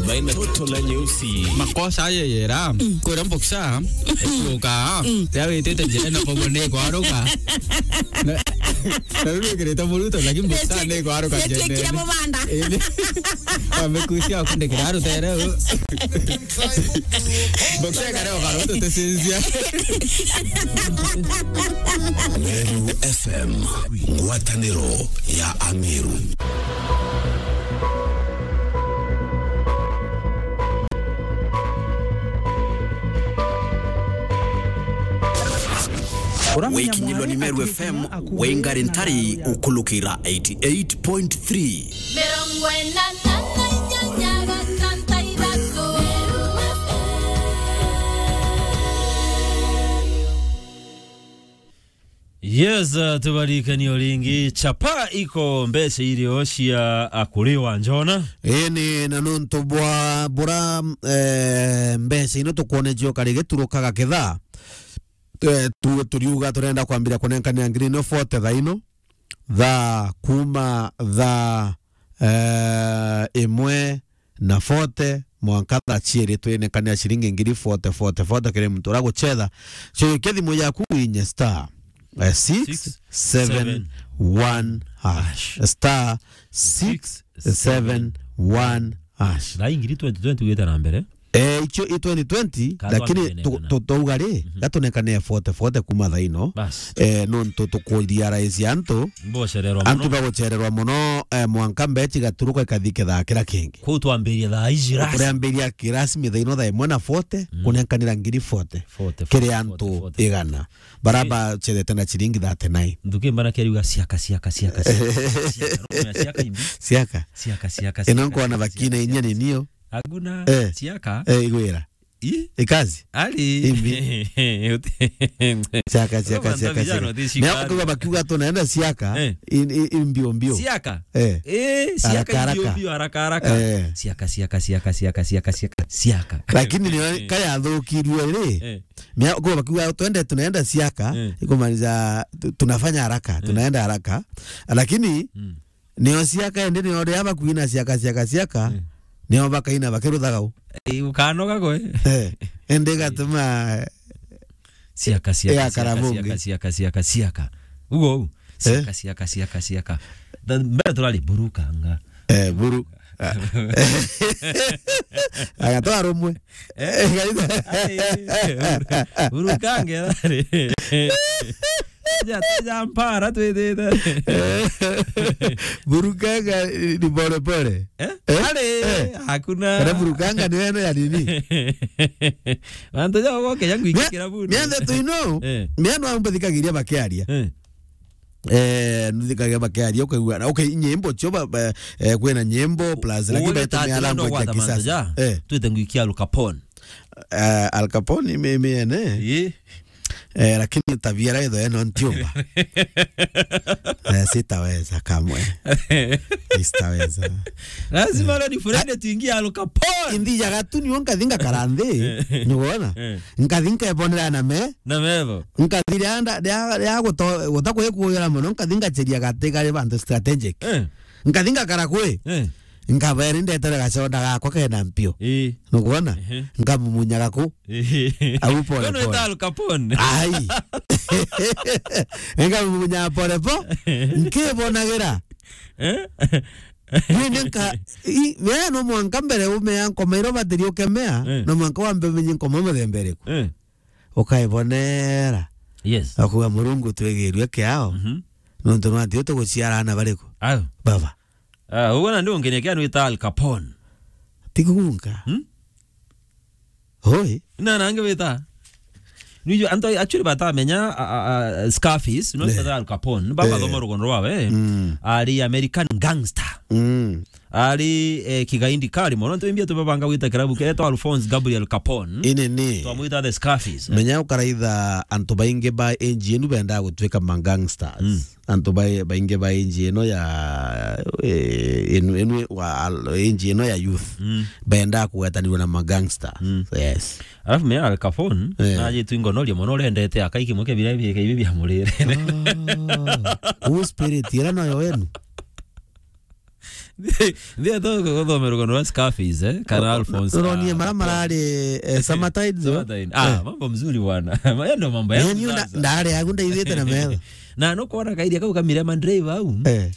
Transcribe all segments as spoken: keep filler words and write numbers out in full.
Toto la nyeusi. Makosa aye yera. Kwira mboksa. Ekuoka. Ya witite njira na kogo ni kwaruka. Na, na riu wikirite muruto, lakini mboksa ni kwaruka njira. Amekusia kundikira rutere. Mboksa kare okaruto tesinzia. Meru F M, ngwataniro ya Ameru. Wikinyilwa ni Meru F M, wingari ntari ukulukira eighty eight point three. Mirongo ina na inyanya gatantu ithatu. Yes, uh, tubarikanie o ringi, chapa iko mbeca irio cia akuri wa Njona. Ii ni na nontu bwa bura, eh, mbeca ino tukwonejio kari giturukaga kithaa. Eh, tu-, turiuga turenda kwambira kunenkanira ngiri ino forty thaa ino, thaa kuma thaa, eh, imwe na forty mwanka thaa ciiri, twinekanira ciringi ngiri forty, forty, forty kiri muntu uria gucetha. Cokia thimu yaku winye star, eh, six seven one hash. Star six seven one hash. Thaa ingiri twenty twenty gwita na mbere. Eh, icio i twenty twenty, lakini tu-, tu-, twauga ri, gatunekane forty forty kuma thaa ino. Bas. Eh, nontu tukuria rais antu. Mbocererwa muno. Antu bagucererwa muno, eh, mwanka mbechi gaturuka ikathi kithaa kira kingi. Kuu twambiria thaa iji rasmi. Kuriambiria kirasmi thaa ino thaa imwe na forty, kunenkanira ngiri forty. Forty, kiri forty, antu forty, forty, igana. Bara bacethete na ciringi thirty-nine. Nthuki mbana keriuga ciaka, ciaka, ciaka, ciaka. Ciaka, no kumenya ciaka imbi. Ciaka. Ciaka, ciaka, ciaka, ciaka. Ino nkona bakina inya ninio. Hakuna. Eh. Ciaka. Eh, igwira. I? Ikazi? Ali. Imbi. Ciaka, ciaka, ciaka, ciaka. Ndio ukiuga bakiuga tunaenda ciaka, eh, in-, in-, in mbio mbio. Ciaka? Eh. Eh, ciaka. Haraka, haraka. Mbio mbio, haraka, haraka. Eh. Ciaka, ciaka, ciaka. Lakini ni kaya thukirwe ri. Eh. Mia-, kwa bakiuga, "Twende, tunaenda siaka," mm, ikumaanisha tu-, tunafanya haraka, mm, tunaenda haraka. Lakini, mm, nio siaka, ende nio ria bakuina siaka, siaka, siaka, mm, nio bakaina bakiruthaga u. Eh, ukanoga gwe. Eh, ende gatuma siaka, siaka, ya siaka, karamungi, siaka, siaka, siaka, siaka. Ugo u. Eh? Siaka, siaka, siaka, siaka. Tha-, mbere turari burukanga. Eh, buru. Agatwara umwe. Eh? Ai, buru-, burukanga thari. Ja, ja mpara twithite. Burukanga ni pole pole. Eh? Eh? Ari, eh, hakuna. Kana burukanga ni wene ya nini? Antu ja goke yangu ikira buru. Niende tu ino. Eh. Niende ambathikagiria bakiaria. Eh. Eh, nuthikagia bakiaria, ukaigua, okay, nyimbo cio ba, ba, eh, kwina nyimbo, plus, lakini uwe betumia language ya kisasa. Ja, eh, twite ngwikia Al Capone. Eh, Al Capone, ime, ime, ene. Ii. Eh, lakini tabia raitho eno ntiumba. Eh, sitaweza kamwe. Sitaweza. Lazima, eh, leo ni friend tuingie Al Capone. Indi ya gatuni wonka thinga karande. Eh. Ni wona? Eh. Nkathi nkebonera na me. Na mevo. Nkathi ria nda-, ria, ria guto-, guta kwikuyura mono, nkathi ngacheria gati kari bantu strategic. Eh. Nkathi ngakara kwi. Eh. Nkabere ndetere gacoda gakwa kena mpio. Ii. Nukwona? Ehe. Nkamumunyaga ku. Ii. Au pole pole. Kono ita Al Capone. Ai. Nkamumunyaga pole po. Nkibonagira. Eh? Nindi nka-, i-, we no mwanka mbere umea nkoma iro batiri ukemea, eh, no mwanka wambe umenye nkoma muthemba iriku. Eh. Ukaibonera. Yes. Akuga, "Murungu, twigirue kiao." Mhm. Nontu no ati tuguciara ana bariku? Ayo. Baba. Ah, uguo na ndio ngene kia nwita Al Capone. Tigunga. Hmm? Hoi. Na nange wita. Niju anto actually batamenya, a, a, a, Scarface, no, eh, ta Al Capone, baba, eh, thoma rugono rwawe. Mm. Ari American gangster. Mm. Ari, eh, kigaindi kari mono, ntu imbia tubabanga gwita kirabu kiria etwa Alphonse Gabriel Capone. Ine ni. Twamwita the Scarface. Menya ukaraitha antu baingi ba age enu benda gutwika ma gangsters. Mm. Antu bai-, baingi ba age ino ya, eh, enu, enu wa al-, age ino ya youth. Mm. Benda kugwetanirwa na ma gangster. Mm. Yes. Alafu menya Al Capone, eh, najitwi ngonoria mono, urendete akai kimwe kia biria bi-, ibi bia murire. Ah. Uu spirit, ira nayo wenu. Ndio tu kuthomera rugano rwa Scarface, eh? Kana Alphonse. Ronie mara marari, eh, Summertime, zo? Summertime. Ah, mambo mzuri bwana. Maya ndo mambo ya sasa. Ndari yagu ndaithite na metho. Na no kuona kairia kau kamire mandreva au. Eh.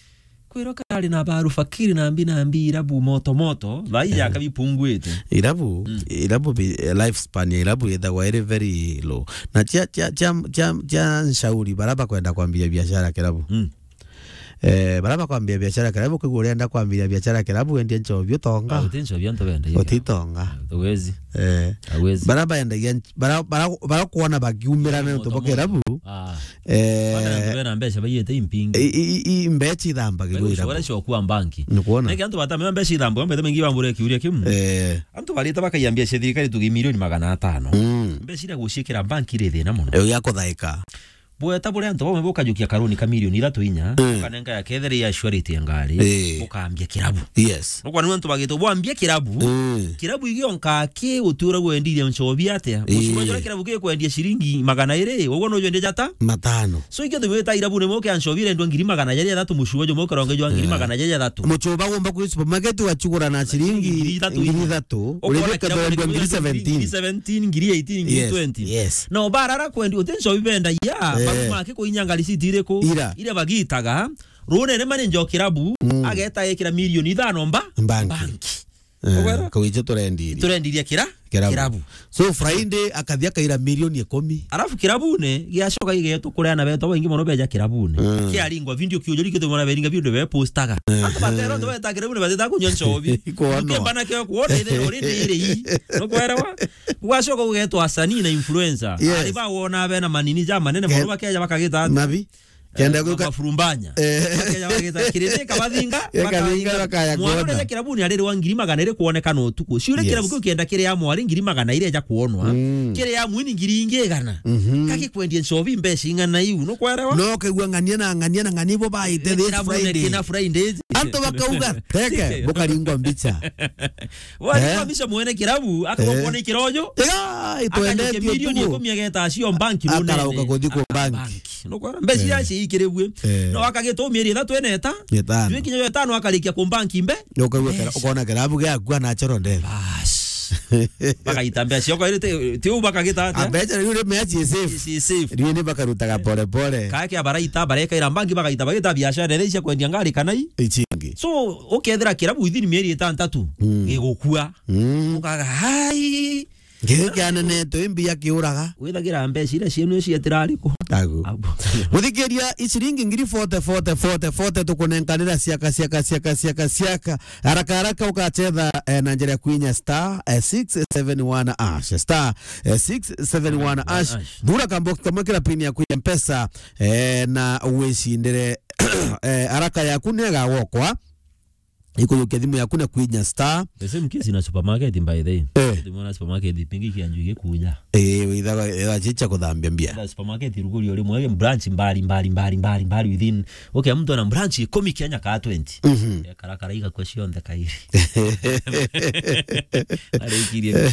Kwiro kari na baru fakiri na mbi na mbi irabu moto moto, thaa ii ya kabipunguite. Irabu, irabu bi-, life span ya irabu ithagwa iri very low. Na cia, cia, cia, cia, cia nshauri, bara bakwenda kwambia biashara kirabu. Mm. Eh, bara bakwambia biashara kirabu, kwigua urenda kwambia biashara kirabu, wendia nchobi utonga. Ah, uti nchobi antu benda. Utitonga. Uwezi. Eh. Uwezi. Bara baendagia nch-, bara, bara, bara kuona bakiumira na nontu bwa kirabu. Ah. Eh, bana antu bena mbeca baiyite impingi. I, i, i, i mbeca ithambagirwo irabu. Ushobora sio kuwa banki. Nikuona? Niki antu batamenya mbeca ithambagirwo, mbeca mingi bambure kiuria kiu. Eh. Antu barite bakaiya mbeca thirikari tugi milioni magana atano. Mm. Mbeca iria guciikira banki iri thina muno. Yo ya kuthaika. Bweta buria antu bamwe bukajukia karuni ka milioni ithatu inya, mm, ukanenga ya ketheri ya surety ya ngari, eh, ukambia kirabu. Yes. Nukwa niwe antu bagitwo bwambie kirabu. Mm. Kirabu igionka ki utura gwendiria nchobi atia? Eh. Mucuma jura kirabu gikwendia ciringi magana iri, uguo no jwendia jata? Matano. So ikio tuweta irabu ni moke anchobi rendwa ngiri magana jari athatu, mucuma jo moke ronge jwa ngiri magana jari athatu. Muchuba gomba kwi supermarket wachugura na ciringi ngiri ithatu. Ngiri ithatu. Ukona urithia kirabu kethira ni ngiri seventeen. Ngiri seventeen, ngiri eighteen, ngiri twenty. Yes, yes. Na obarara kwendi uti nchobi benda ya, eh, babu make kuinyanga risiti iriku? Ira. Ira bagitaga. Runene manager o kirabu, mm, ageta ekira milioni ithano mba-, mbanki. Mbanki. Eh, ukwerwa? Kau icio turendirie. Turendirie kira-, kirabu. Kirabu. So, Friday akathia akaira milioni ikumi. Alafu kirabune, giacoka gigetwo kuria na beto baingi mono beja kirabune. Mm. Kiaringwa video kiujuri kitu mwana beringa video be postaga. Eh. Antu batero, antu beta kirabune bateta kunywa nchobi. Kuonwa. Ukemba na kio kuona ithe uri ndiri. Nukwerwa? Gugacoka gugetwa asanii na influencer. Yes. Ari bawona bena manini ja manene mono bakeja bakagita ati. Mabi. Kenda, eh, gwika mafurumbanya. Eh. Bakeja bagita kirindi kabathinga, bakabathinga, bakaya kuona. Mwana uria kirabuni arirwa ngiri magana iri kuonekana utuku. Ciure, yes, kirabu kiu kienda kiri ya mwari ngiri magana iri eja kuonwa. Mm. Kiri ya mwini ngiri ingi igana. Mhm. Kaki kwendia nchobi mbeca ing'ana iu, nukwerewa? No kegua ng'ania na ng'ania na ng'ania ibo baite this Friday. Kirabu ne kina Fridays. Antu bakauga, "Teke, bukaringwa mbicha." Wari, eh, kwamisha mwene kirabu, akabokwa, eh, ni kirojo. Iga, akajukia itwendetie milioni tu. Ikumi ageta acio banki runene. Akarauka kuthi ku banki. Banki. Nukwona? Mbeca iria, eh, ciikiribue. Eh. No akagita mieri ithatu ene eta. Itano. Jwi kinya itano akarikia ku banki mbe. Nukauga kira-, mbeca. Ukona kirabu giaku anachoro ndebe. Bas. Bakaita mbeca ciakwa iri ti, ti u bakagita atia? A mbeca riu ri mbeca ci safe. Ci safe. Riu ni bakarutaga pole pole. Kaya kia baraita, barekaira banki bagaita, bagita biashara iria cia kwendia ngari kana i? Ichingi. So, ukethira kirabu within mieri itantatu, mm, gigukua. Mm. Ukaga, "Hai." Giki kianenetwe, imbi akiuraga. Withagira mbeca iria cienu cietira ariku? Agu. Abu. Muthikiria, iciringi ngiri forty, forty, forty, forty tukunenkanira ciaka, ciaka, ciaka, ciaka, ciaka. Haraka, haraka ukachetha, eh, na njira ya kuinya star, eh, six seven one hash. Star, eh, six seven one hash. Hash. Thura kambox kamwe kira pin ya kuinya mpesa, eh, na wicindire, eh, haraka yaku ni igagwokwa. Ikujukia thimu yaku na kwinya star. The same case na supermarket, by the way. Eh. Thimu na supermarket, pingi kianju gikuja. Eh, withaga, eh, achicha kuthambia mbia. Na supermarket ruguri uri mwe branch mbali, mbali, mbali, mbali, mbali within. Okay, mtu ana branch ikumi Kenya ka twenty. Mhm. Eh, karakara igakwa cionthe kairi. Arikirie.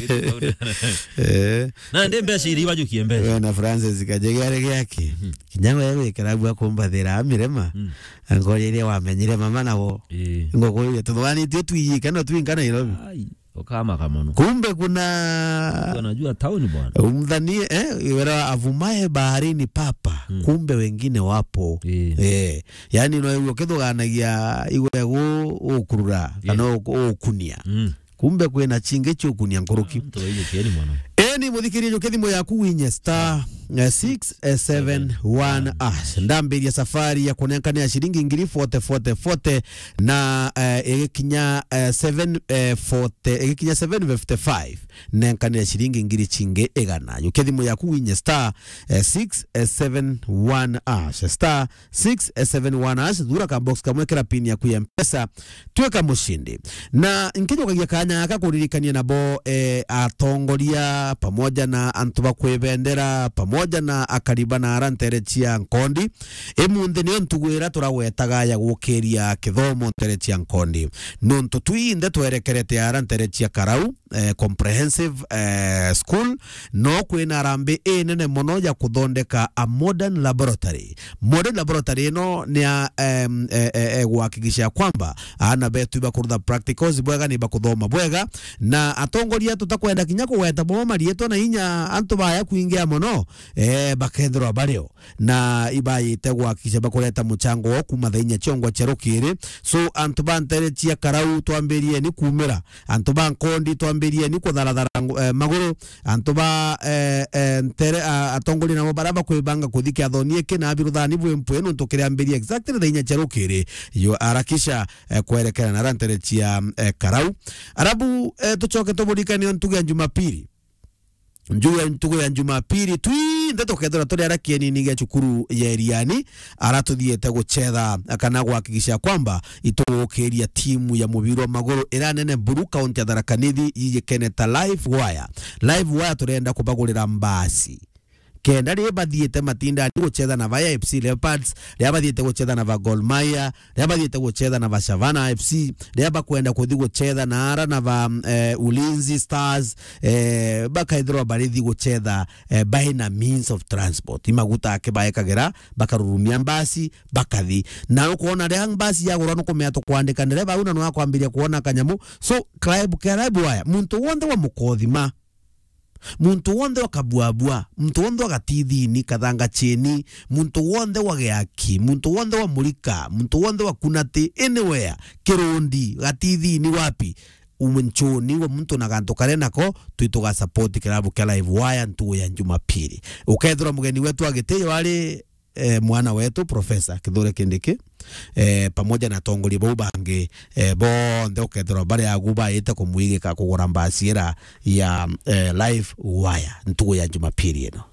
Eh. Na ndi mbeca iri ibajukie mbeca. We na Francis Kajegere giaki. Mhm. Kinya we gwikira bua kumbathira mirema. Mm. Angoria iria wamenyire mama nabo. Ii. Ngokuria, tuthwanitie twiyike no twinka Nairobi. Ai, ukamaka mono. Kumbe kuna unajua town bwana. Umdhanie, eh, wera avumae baharini papa. Mm. Kumbe wengine wapo. Ii. Eh, yani no uyo kithuganagia igwe gu ukurura, ii, kana u-, ukunia. Mm. Kumbe kwina chingi chiukunia nkuruki. Antu baiyukieni mono. Eni, muthikirie, jukia thimu yaku winye star, eh, six seven one hash. Ndambiria safari ya kunenkania ciringi ngiri forty, forty, forty, na, eh, igikinya, eh, seven, eh, forty, igikinya seven fifty-five, nenkanire ciringi ngiri chingi igana. Jukia thimu yaku winye star, eh, six seven one hash. Star six seven one hash, thura ka box kamwe, kira pin yaku ya Mpesa, twika mushindi. Na nkijukagia kanya gaka kuririkania nabo, eh, atongoria pamoja na antu ba kwibendera pamoja pamoja na akariba na ara ntere cia Nkondi. Imunthi niyo ntugu ira turagwetaga ya gukiria kithomo ntere cia Nkondi. Nontu twinthe twerekerete ara ntere cia Karau, eh, Comprehensive, eh, School, no kwina arambi inene mono ya kuthondeka a modern laboratory. Modern laboratory ino ni ya, em, e, e, e, guhakikisha kwamba aana betu ibakurutha practicals bwega, ni bakuthoma bwega, na atongoria tutakwenda kinya kugweta bo marietwa na inya antu baya kwingia mono, eh, bakethirwa bario na ibayite guhakikisha bakureta muchango wao kuma thaa inya ciongwa cia rukiri. So, antu ba ntere cia Karau, twambirieni kumira. Antu ba Nkondi, twambirieni kutharathara ngu-, eh, maguru. Antu ba, eh, eh, ntere, ah, atongoria nabo bara bakwibanga kuthi kiathoni iki na biruthani bwi mpwi, nontu kiriambiria exactly thaa inya cia rukiri. Yo, harakisha, eh, kwerekera na ara ntere cia, eh, Karau. Arabu, eh, tucoke tuburikanie ntugu ya Jumapili. Njugu ya, ntugu ya Jumapili, twinthe tukethirwa turi ara kienini gia cukuru ya Iriani, ara tuthiete gucetha kana guhakikisha kwamba itugukiria timu ya mubira wa maguru ira nene buru, kaunti ya Tharaka Nithi, yijikene ta Live Wire. Live Wire turenda kubagurira mbasi. Kenda riria bathiite matindani gucetha na ba A F C Leopards, riria bathiite gucetha na ba Gor Mahia, riria bathiite gucetha na ba Shavana F C, riria bakwenda kuthi gucetha na ara na ba, eh, Ulinzi Stars, eh, bakaithirwa barithi gucetha, eh, by na means of transport. Imaguta ake baekagira, bakarurumia mbasi, bakathi. Na ukwona riria mbasi yagurwa nukumea tukwandika ndereba au na nwakwambiria kuona kanyamu. So, club, club waya, muntu wonthe wa Mukothima, muntu wonthe wa Kabuabua, muntu wonthe wa Gatithini, Kathanga Cheni, muntu wonthe wa Giaki, muntu wonthe wa Murika, muntu wonthe wa Kunati, anywhere, Kirundi, Gatithini, wapi, umunchuni wa muntu na gantu karia nako, twi tuga support kirabu kia Live Wire ntugu ya Jumapili. Ukethirwa mugeni wetu wa gitio ari eh, mwana wetu Professor Kithure Kindiki, eh, pamoja na atongoria bau bangi, eh, bonthe ukethirwa bari agu baite kumwigika kugura mbasi ira ya, eh, Live Wire ntugu ya Jumapili ino.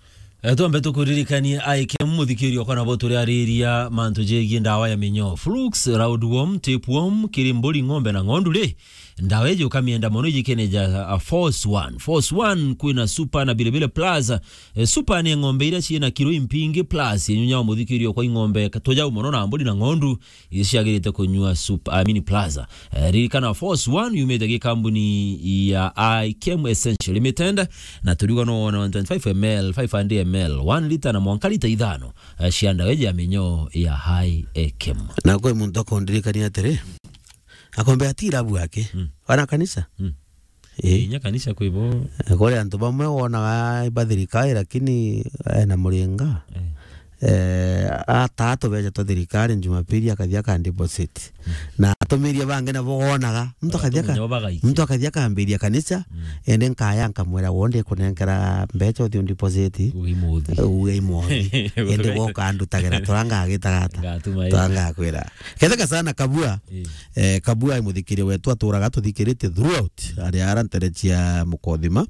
Eh, twambe tukuririkanie aike muthikirio kana bo turiariria mantu jegie ndawa ya minyoo, flukes, roundworm, tapeworm, kiri mburi, ng'ombe na ng'ondu ri, ndawa iji ukamienda mono ijikene ja, uh, Force One. Force One kwina Super na Bilibili Plus. Eh, Super ni ng'ombe iria ciina kiro impingi plus inyunya wa muthikirio kwa ing'ombe ka-, tujau mono na mburi na ng'ondu iria ciagirite kunyua Super, I mean Plus. Eh, ririkana Force One yumite gikambuni ya Ikem Essential Limited na turiuga no wona one twenty-five M L, five hundred M L, one liter na mwanka liter ithano, eh, cia ndawa iji ya minyoo ya High Ikem. Na kwi muntu akundirikania atiri, akombe ati irabu yake, mm, wana kanisa. Mm. Eh. Inya kanisa kwi bo. Eh, kuri antu bamwe wonaga ba thirikari, lakini ena muringa. Eh. Eh, ataa tubeca twa thirikari Jumapili akathi aka deposit. Mm. Na atumiria bangi nabo wonaga, muntu akathi aka-, muntu akathi akambiria kanisa, mm, ende nkaya nkamwira, "Wo ndikunenkera mbeca uthi undeposit." Ugimuthi. Eh, ugimuthi. Ende woka ndutagira, turanga agitagata. Ngatuma. Turanga akwira. Ketheka sana Kabua. Eh. Eh, Kabua ai muthikiria wetu aturaga tuthikirite throughout. Ari ara ntere cia Mukothima.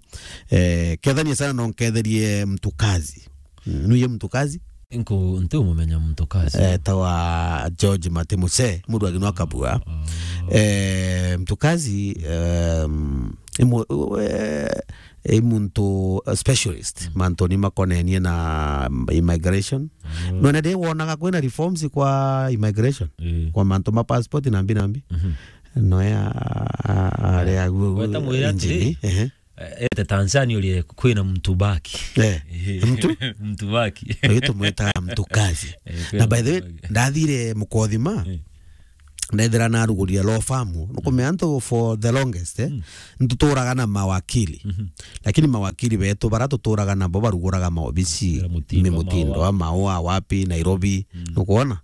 Eh, kethania sana no nketherie Mtukazi. Mm, nuye Mtukazi? Nku-, ntiumumenya Mtukazi. Eh, tawa George Matimuse, murwagi nwa Kabua. Oh. Eh, Mtukazi, em, imu-, we-, i muntu, uh, specialist, mm, mantuni makonenie na, mm, immigration. Mm. Nona ndi wonaga kwina reforms kwa immigration, eh, kwa mantu ma passport na mbi na mbi. Mhm. Noya, a-, a-, ari agu, weta mwira atiri, injini, ehe. Eh, ete Tanzania urie kwina mtu baki. Eh, mtu? Mtu baki. Uyu tumwitaga Mtukazi. Eh, na by the way, kwina mtu baki. Ndathire Mukothima, eh. Ndethira narugurire law firm, nukumenya antu for the longest, eh, mm, ntuturaga na mawakili. Mhm. Lakini mawakili betu bara tuturaga nabo baruguraga maobisi, mutindo, mi mutindo, maua, maua, wapi, Nairobi, mm, nukwona?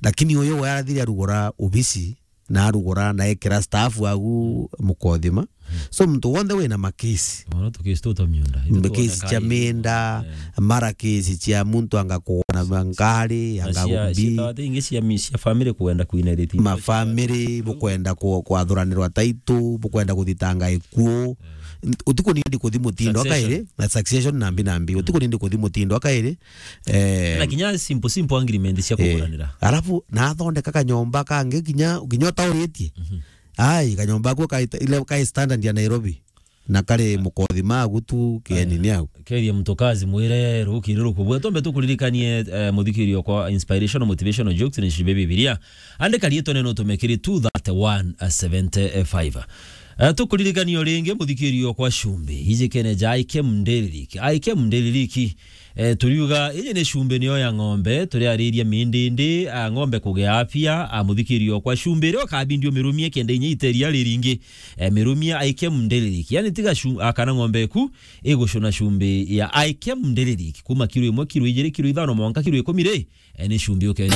Lakini uyu we arathire arugura obisi, na arugura, na ekira staff agu Mukothima. Mm. So, muntu wonthe wina makesi. Mono tukesi tuta miunda. Makesi cia minda, eh, mara kesi cia muntu anga kuona ngari, na anga cia, gumbi. Cia tawate ingi cia mi-, cia family kwenda kuinherit. Ma family, bukwenda ku-, kwathuranirwa title, bukwenda kuthitanga ikuo. Eh. N-, utiku nindi kuthi mutindo. Succession. Akairi, na succession na mbi na mbi. Mm. Utiku nindi kuthi mutindo, akairi. Eh. Na kinya simple, simple agreement cia, eh, kuguranira. Alafu, nathondeka kanyomba kangi kinya, kinya utauritie. Mhm. Ai, kanyomba ako ka ita-, ile ka standard ya Nairobi. Na kari mukothi magu tu, kieni ni au. Keria mtukazi mwire rukiri rukubua. Tombe tukuririkanie, eh, muthikirio kwa inspirational motivational jokes ni cibe Bibilia. Andika riitwa neno tumekiri two thirty-one seventy-five. Eh, tukuririkanie o ringi muthikirio kwa cumbi. Iji kene ja I K M Daily Leak. I K M Daily Leak. Eh, turiuga, iji ni cumbi niyo ya ng'ombe, turiariria mindindi, a, ng'ombe kugia afya, a, muthikirio kwa cumbi, iria ukabindi umirumie kenda inya iteria riringi. Eh, mirumie I K M Daily Leak. Yani tiga cu-, a, kana ng'ombe eku igucuna cumbi ya I K M Daily Leak. Kuma kiro imwe, kiro ijiri, kiro ithano, mwanka kiro ikumi ri, eh, ni cumbi ukenya.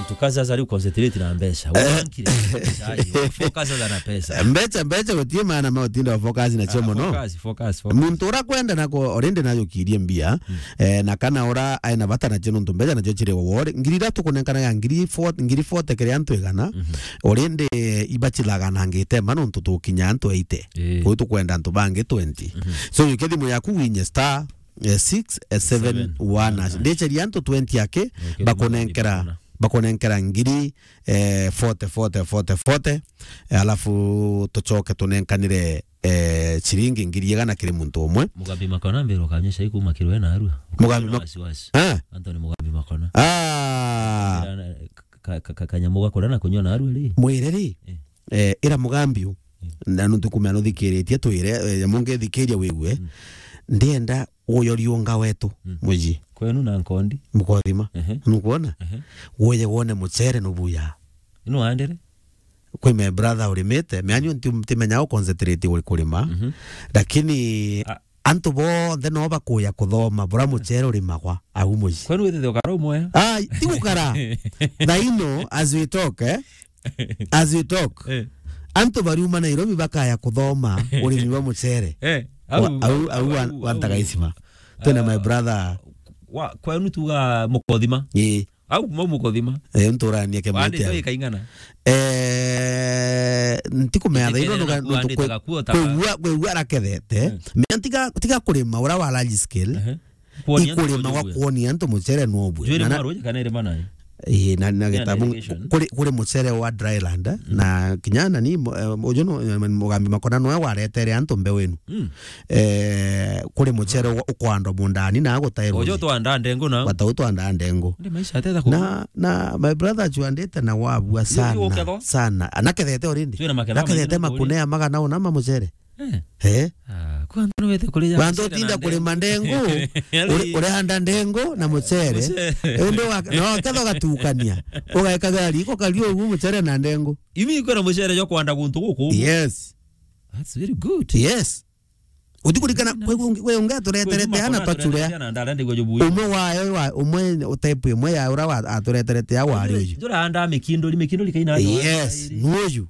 Mtu kazi sasa ari concentrate na mbeca. Wankire. Focus sasa na pesa. Mbeca, mbeca gutie maana ma utinda focus na cio mono. Focus, focus, focus. Muntu ura kwenda nako already nayo kirie mbia, eh, na kana ura aina bata na cio nontu mbeca nacio ciri wore. Ngiri ithatu kunenkana ya ngiri forty, ngiri forty kiri antu igana. Already ibacilaga na ngite ma nontu tukinya antu eighty. Eh. Kwi tukwenda antu bangi twenty. So, yuke thimu yaku winye star, eh, six seven one hash. Ndiceria antu twenty aki, bakunenkera, bakunenkera ngiri, eh, forty, forty, forty, forty, eh, alafu tucoke tunenkanire, eh, ciringi ngiri igana kiri muntu umwe. Mugambi Makona mbiro kanyesha ikuma kirwe na arua. Mugambi Makona Mak-, wasiwasi. Ah. Anthony Mugambi Makona. Ah. Ka-, ka-, ka-, kanyamu gakura na kunywa na arua ri? Mwire ri? Eh. Eh, ira Mugambi u. Na nuntu kumea nuthikiritie twire, eh, nyamu ngithikiria wigue. Ndienda uyo riunga wetu, muji. Kwenu na nkondi. Mukothima. Ehe. Nukwona? Ehe. Uye wone mucere nubuya. Ino andere? Kwi my brother urimite, meanyu nti-, ntimenya u concentrate uri kurima. Lakini antu bonthe no bakuya kuthoma bura mucere urimagwa au muji. Kwenu withithe ukara umwe? Ai, ti gukara. Thaino, as we talk, eh? As we talk, eh, antu bariuma Nairobi bakaya kuthoma urimi bwa mucere. Eh, au, au, au, au, au, au, Ntagaisima. Twina my brother. Wa, kwenu tuga Mukothima? Ii. Au kuma Mukothima? Eh, nturania ke. Wandite mete ikaingana? Eh, ntikumea thaino nuga, nuntu kwe-, kwigua, kwigua arakethete. Eh. Mea tiga, tiga kurima ura wa large scale. Ehe. Kuonia antu ikurima gwa kuonia antu mucere no bwe. Jwiri na, na, mwaru kana irima nayo? Ii, na, na gitabu irrigation. Kuri, kuri mucere wa dry land, na kinya nani, mu-, eh, uju no, eh, Mugambi Makona noe waretere antu mbeu inu. Eh, kuri mucere wa, ukwandwa mundani na gutairwo. Uju twanda ndengu na. Bata utwanda ndengu. Ndi maisha ateta ku. Na, na my brother achuandite na wabua sana, sana. Anakethete already. Twina maketha. Nakethete maingĩ makune ya magana una ma mucere. Eh. Eh? Ah, kwa antu no wete kurija. Wantu utinda kurima ndengu, uri-, urihanda ndengu na mucere. Mucere. Indi wa-, no ketho gatukania. Ugaikaga riko kario ugu mucere na ndengu. Imi kwina mucere jo kwanda guntu guku. Yes. That's very good. Yes. Utikurikana kwe ungi, kwe ungi atureterete ana twachurea. Umwe wayo wa, umwe type imwe ya ura wa, atureterete ya wari uyu. Jura anda mikinduri, mikinduri kaina. Yes, nuyu.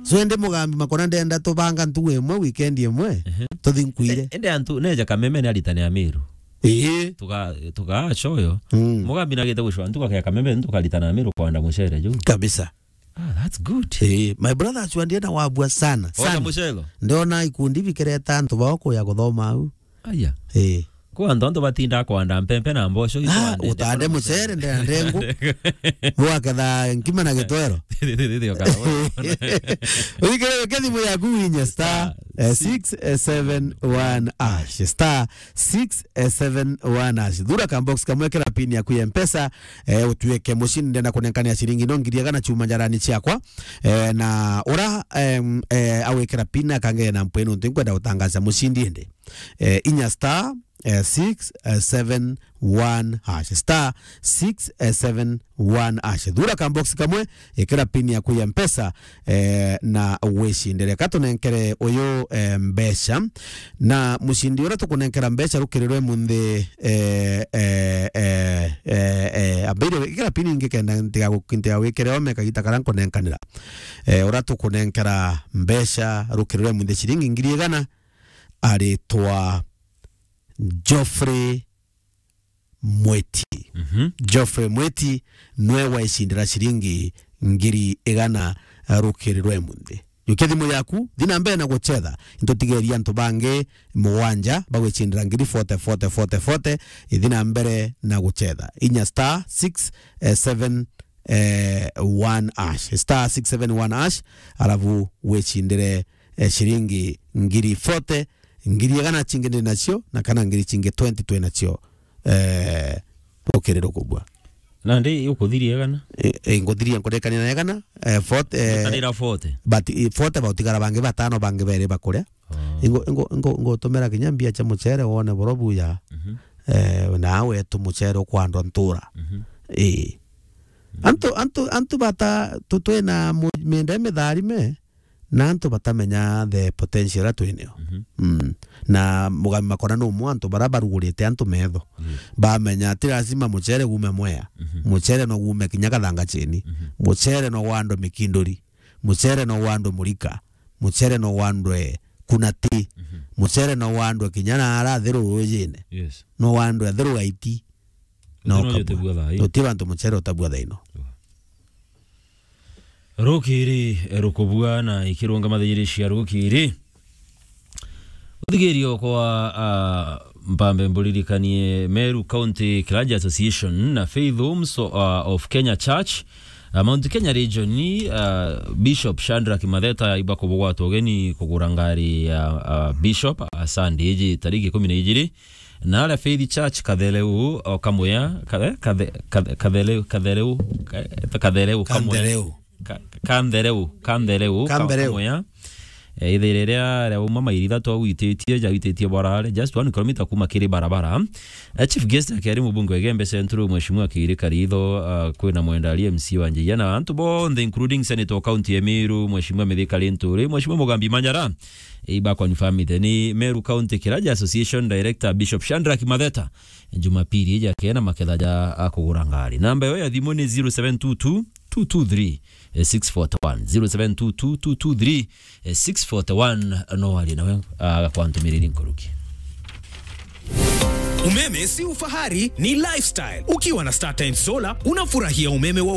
So, indi Mugambi Makona ndenda tubanga ntugu imwe, weekend imwe, tuthi nkuire. Indi antu neja Kameme ni aritane Amiru. Ii. Tuga-, tuga shoyo. Mugambi nagite gucwa ntuga ya Kameme, tukaritana Amiru kwanda mucere juu. Kabisa. Ah, that's good. Ii, my brother acuandie na wabua sana, sana. Mucelo. Ndiona ikundi bikireta antu bao kuya kuthoma au. Aya. Eh. Kwa antu, antu batinda kwanda mpempe na mboco. Ah, itwande, utande mucere, ndea ndengu. Bwaketha nkima na gitwero. Wikire weke thimu yaku winye star, eh, six seven one hash. Star six seven one hash. Thura ka box kamwe kira pin yaku ya Mpesa, eh, utuike mushindi ndenda kunenkania ciringi no ngiri igana chuma njarani ciakwa. Eh, na ura, em, eh, awikira pin akangea na mpwenu nti nkwenda gutangaza mushindi indi. Eh, inya star, eh, six seven one hash. Star six seven one hash. Thura ka box kamwe, ikira pin yaku ya Mpesa, eh, na wicindire. Ka tunenkere uyu, eh, mbeca. Na mucindi uria tukunenkera mbeca rukirirwe munthi, eh, eh, eh, eh, eh, ambire ikira pin ingi kenda ntiga gu-, ntiga wikire ome kagita karia nkunenkanira. Eh, uria tukunenkera mbeca rukirirwe munthi ciringi ngiri igana, aritwa Geoffrey Mweti. Mhm. Geoffrey Mweti nwe waicindira ciringi ngiri igana rukiri rwa imunthi. Jukia thimu yaku, thi na mbere na gucetha. Intutigeria antu bangi mugwanja bagwicindira ngiri forty, forty, forty, forty. Ithi na mbere na gucetha. Inya star six seven eh, one hash, star six seven one hash, alafu wicindire, eh, ciringi ngiri forty, ngiri igana cingi ndi nacio, na kana ngiri cingi twenty twi nacio, eh, rukiri rukubua. Na ndi ukuthiria igana? Eh, eh, nguthiria nkurekania na igana, eh, forty, eh, Ngetanira forty. But, eh, forty bautigara bangi batano bangi beri bakuria. Oh. Ingo, ingo, ingo, ingotumira kinya mbia cia mucere wone boro buya. Mhm. Eh, na wetu mucere ukwandwa ntura. Mhm. Eh. Mhm. Antu, antu, antu bata, tu-, twina mu-, mienda mitharime, na antu batamenya the potential iria twinio. Mhm. Mm. Na mugami makona no mwa antu bara barugurite antu metho. Mm. Bamenya ti lazima mucere gume Mwea. Mhm. Mucere no gume kinya Kathanga chini. Mhm. Mucere no wandwe Mikinduri. Mucere no wandwe Murika. Mucere no wandwe Kunati. Mhm. Mucere no wandwe kinya na ara thiru rujine. Yes. No wandwe thiru Gaiti. No kabua. Uti bantu mucere utabua thaino. Rukiri, eh, rukubua na ikirunga mathiiri cia rukiri. Uthigirio kwa, ah, mpambe mburirikanie Meru County Clergy Association na Faith Homes, ah, of Kenya Church, ah, Mount Kenya Region, ah, Bishop Shadrack Matheta ibakubugwatwa ugeni kugura ngari ya, ah, Bishop, ah, Sunday iji tariki ikumi na ijiri. Na aria Faith Church Kathereu, o Kamwea, Kathe-, Kathe-, Kathe-, Kathereu, Kathereu, Ka-, Kathereu, Kamwea. Kanthereu. Ka-, Kanthereu, Kanthereu, Ka-, Kambereu. Kamwea. Eh, ithiire ria, ria uma mairi ithatu au ititie, ja ititie bwarare, just one kilometer kuma kiri barabara. Eh, chief guest akiari mubunge wa Igembe Central, Mheshimiwa Kiiri Karitho, ah, kwina Mwenda ari M C wa Njia, na antu bonthe, including Senator wa County ya Meru, Mheshimiwa Mithika Linturi, Mheshimiwa Mugambi Manyara, ibakwa ni family ni Meru County Clergy Association Director Bishop Shadrack Matheta, Jumapili iji akena maketha ja akugura ngari. Namba yo ya thimu ni zero seven two two, two two three, six forty one. Zero seven two two, two two three, six forty one. No warie nawe, agakwantumiriri nkuruki. Umeme si ufahari, ni lifestyle. Ukiwa na StarTimes Solar, unafurahia umeme wa